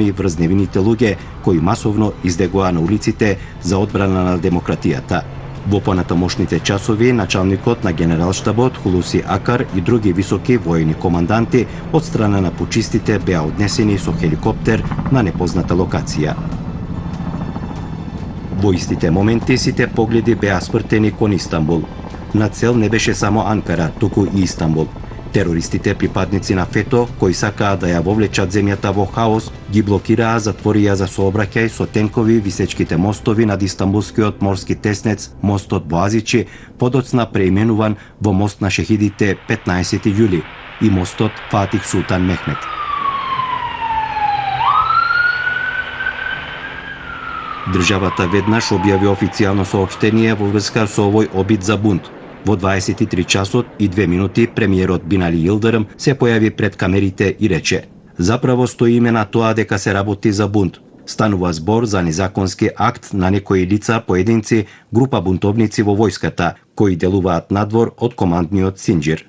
и врз невините луѓе кои масовно издегоа на улиците за одбрана на демократијата. Во понатамошните часови, началникот на Генералштабот Хулуси Акар и други високи војни команданти од страна на пучистите беа однесени со хеликоптер на непозната локација. Во истите моменти сите погледи беа спртени кон Истанбул. На цел не беше само Анкара, туку и Истанбул. Терористите, припадници на ФЕТО, кои сакаа да ја вовлечат земјата во хаос, ги блокираа, затворија за сообраќај со тенкови висечките мостови над Истанбулскиот морски теснец, мостот Боазичи, подоцна преименуван во мост на шехидите 15 јули и мостот Фатих Султан Мехмет. Државата веднаш објави официјално соопштение во врска со овој обид за бунт. Во 23 часот и 2 минути премиерот Бинали Йилдирим се појави пред камерите и рече: "Заправо стои име на тоа дека се работи за бунт. Станува збор за незаконски акт на некои лица, поединци, група бунтовници во војската, кои делуваат надвор од командниот Синџир."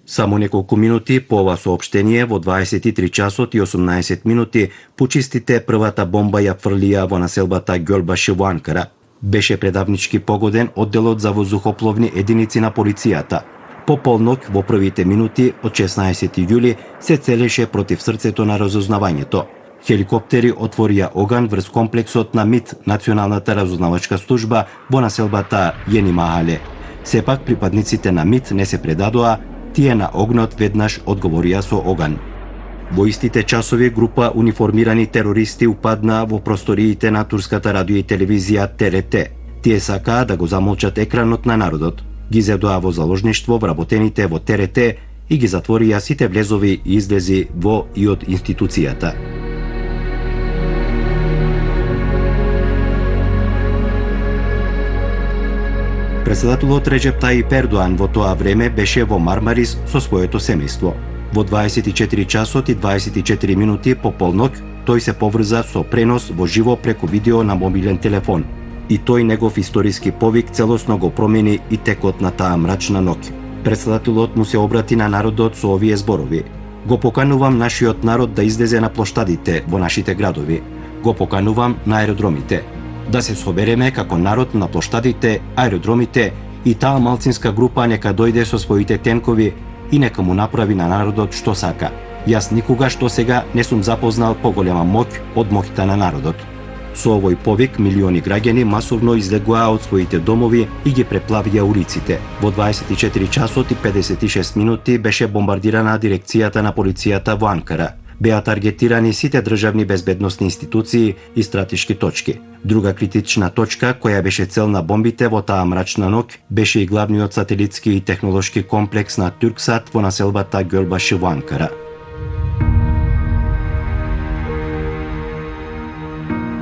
Само неколку минути по ова соопштение, во 23 часот и 18 минути, пучистите првата бомба ја фрлија во населбата Ѓолбаши во Анкара. Беше предавнички погоден одделот за воздухопловни единици на полицијата. По полнок во првите минути од 16 јули се целеше против срцето на разузнавањето. Хеликоптери отворија оган врз комплексот на МИТ, Националната разузнавачка служба во населбата Јени Махале. Сепак припадниците на МИТ не се предадоа, тие на огнот веднаш одговорија со оган. Во истите часови група униформирани терористи упадна во просториите на турската радио и телевизија ТРТ. Тие сакаа да го замолчат екранот на народот. Ги зедоа во заложништво вработените во ТРТ и ги затворија сите влезови и излези во и од институцијата. Председателот Реджеп Тајип Ердоан во тоа време беше во Мармарис со своето семејство. Во 24 часот и 24 минути по полнок, тој се поврза со пренос во живо преку видео на мобилен телефон. И тој негов историски повик целосно го промени и текот на таа мрачна ноќ. Председателот му се обрати на народот со овие зборови: "Го поканувам нашиот народ да излезе на плоштадите во нашите градови. Го поканувам на аеродромите. Да се собереме како народ на плоштадите, аеродромите и таа малцинска група нека дојде со своите тенкови и нека му направи на народот што сака. Јас никогаш до сега не сум запознал поголема моќ од моќта на народот." Со овој повик милиони граѓани масовно излегоа од своите домови и ги преплавија улиците. Во 24 часот и 56 минути беше бомбардирана дирекцијата на полицијата во Анкара. Беа таргетирани сите државни безбедносни институции и стратешки точки. Друга критична точка која беше цел на бомбите во таа мрачна ноќ беше и главниот сателитски и технолошки комплекс на Турксат во населбата Ѓолбаши во Анкара.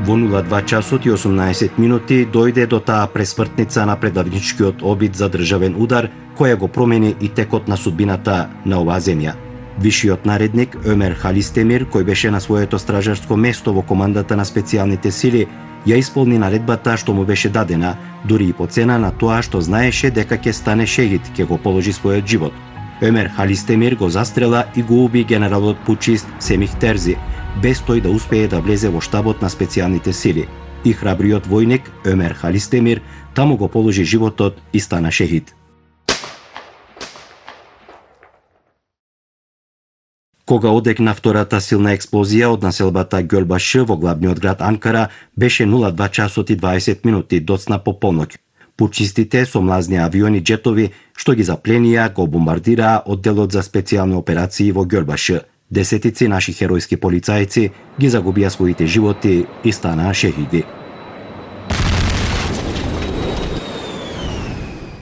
Во 02 часот и 18 минути дојде до таа пресвртница на предавничкиот обид за државен удар, која го промени и текот на судбината на оваа земја. Вишиот наредник Өмер Халистемир, кој беше на своето стражарско место во командата на специјалните сили, ја исполни наредбата што му беше дадена, дури и по цена на тоа што знаеше дека ќе стане шехид, ќе го положи својот живот. Өмер Халистемир го застрела и го уби генералот пучист Семих Терзи, без тој да успее да влезе во штабот на специјалните сили. И храбриот војник Өмер Халистемир таму го положи животот и стана шехид. Кога одекна втората силна експлозија од населбата Ѓолбаши во главниот град Анкара, беше 02 часот и 20 минути доцна по полноќ. Пучистите со млазни авиони джетови што ги запленија го бомбардираа одделот за специјални операции во Ѓолбаши. Десетици наши херојски полицајци ги загубија своите животи и станаа шехиди.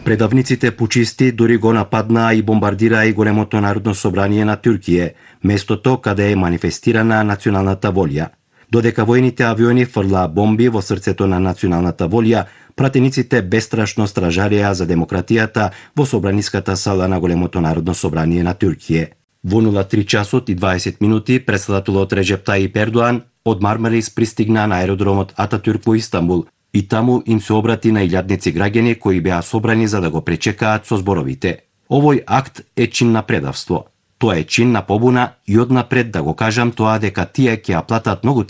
Предавниците пучисти дури го нападнаа и бомбардираа и големото народно собрание на Туркија, местото каде е манифестирана националната волја. Додека војните авиони фрлаа бомби во срцето на националната волја, пратениците бестрашно стражарија за демократијата во собраниската сала на големото народно собрание на Туркија. Во 03 часот и 20 минути председателот Реджеп Тајип Ердоан од Мармарис пристигна на аеродромот Ататюрк во Истанбул и таму им се обрати на илјадници граѓани кои беа собрани за да го пречекаат со зборовите: "Овој акт е чин на предавство. Тоа е чин на побуна и однапред да го кажам тоа дека тие ќе ја платат многу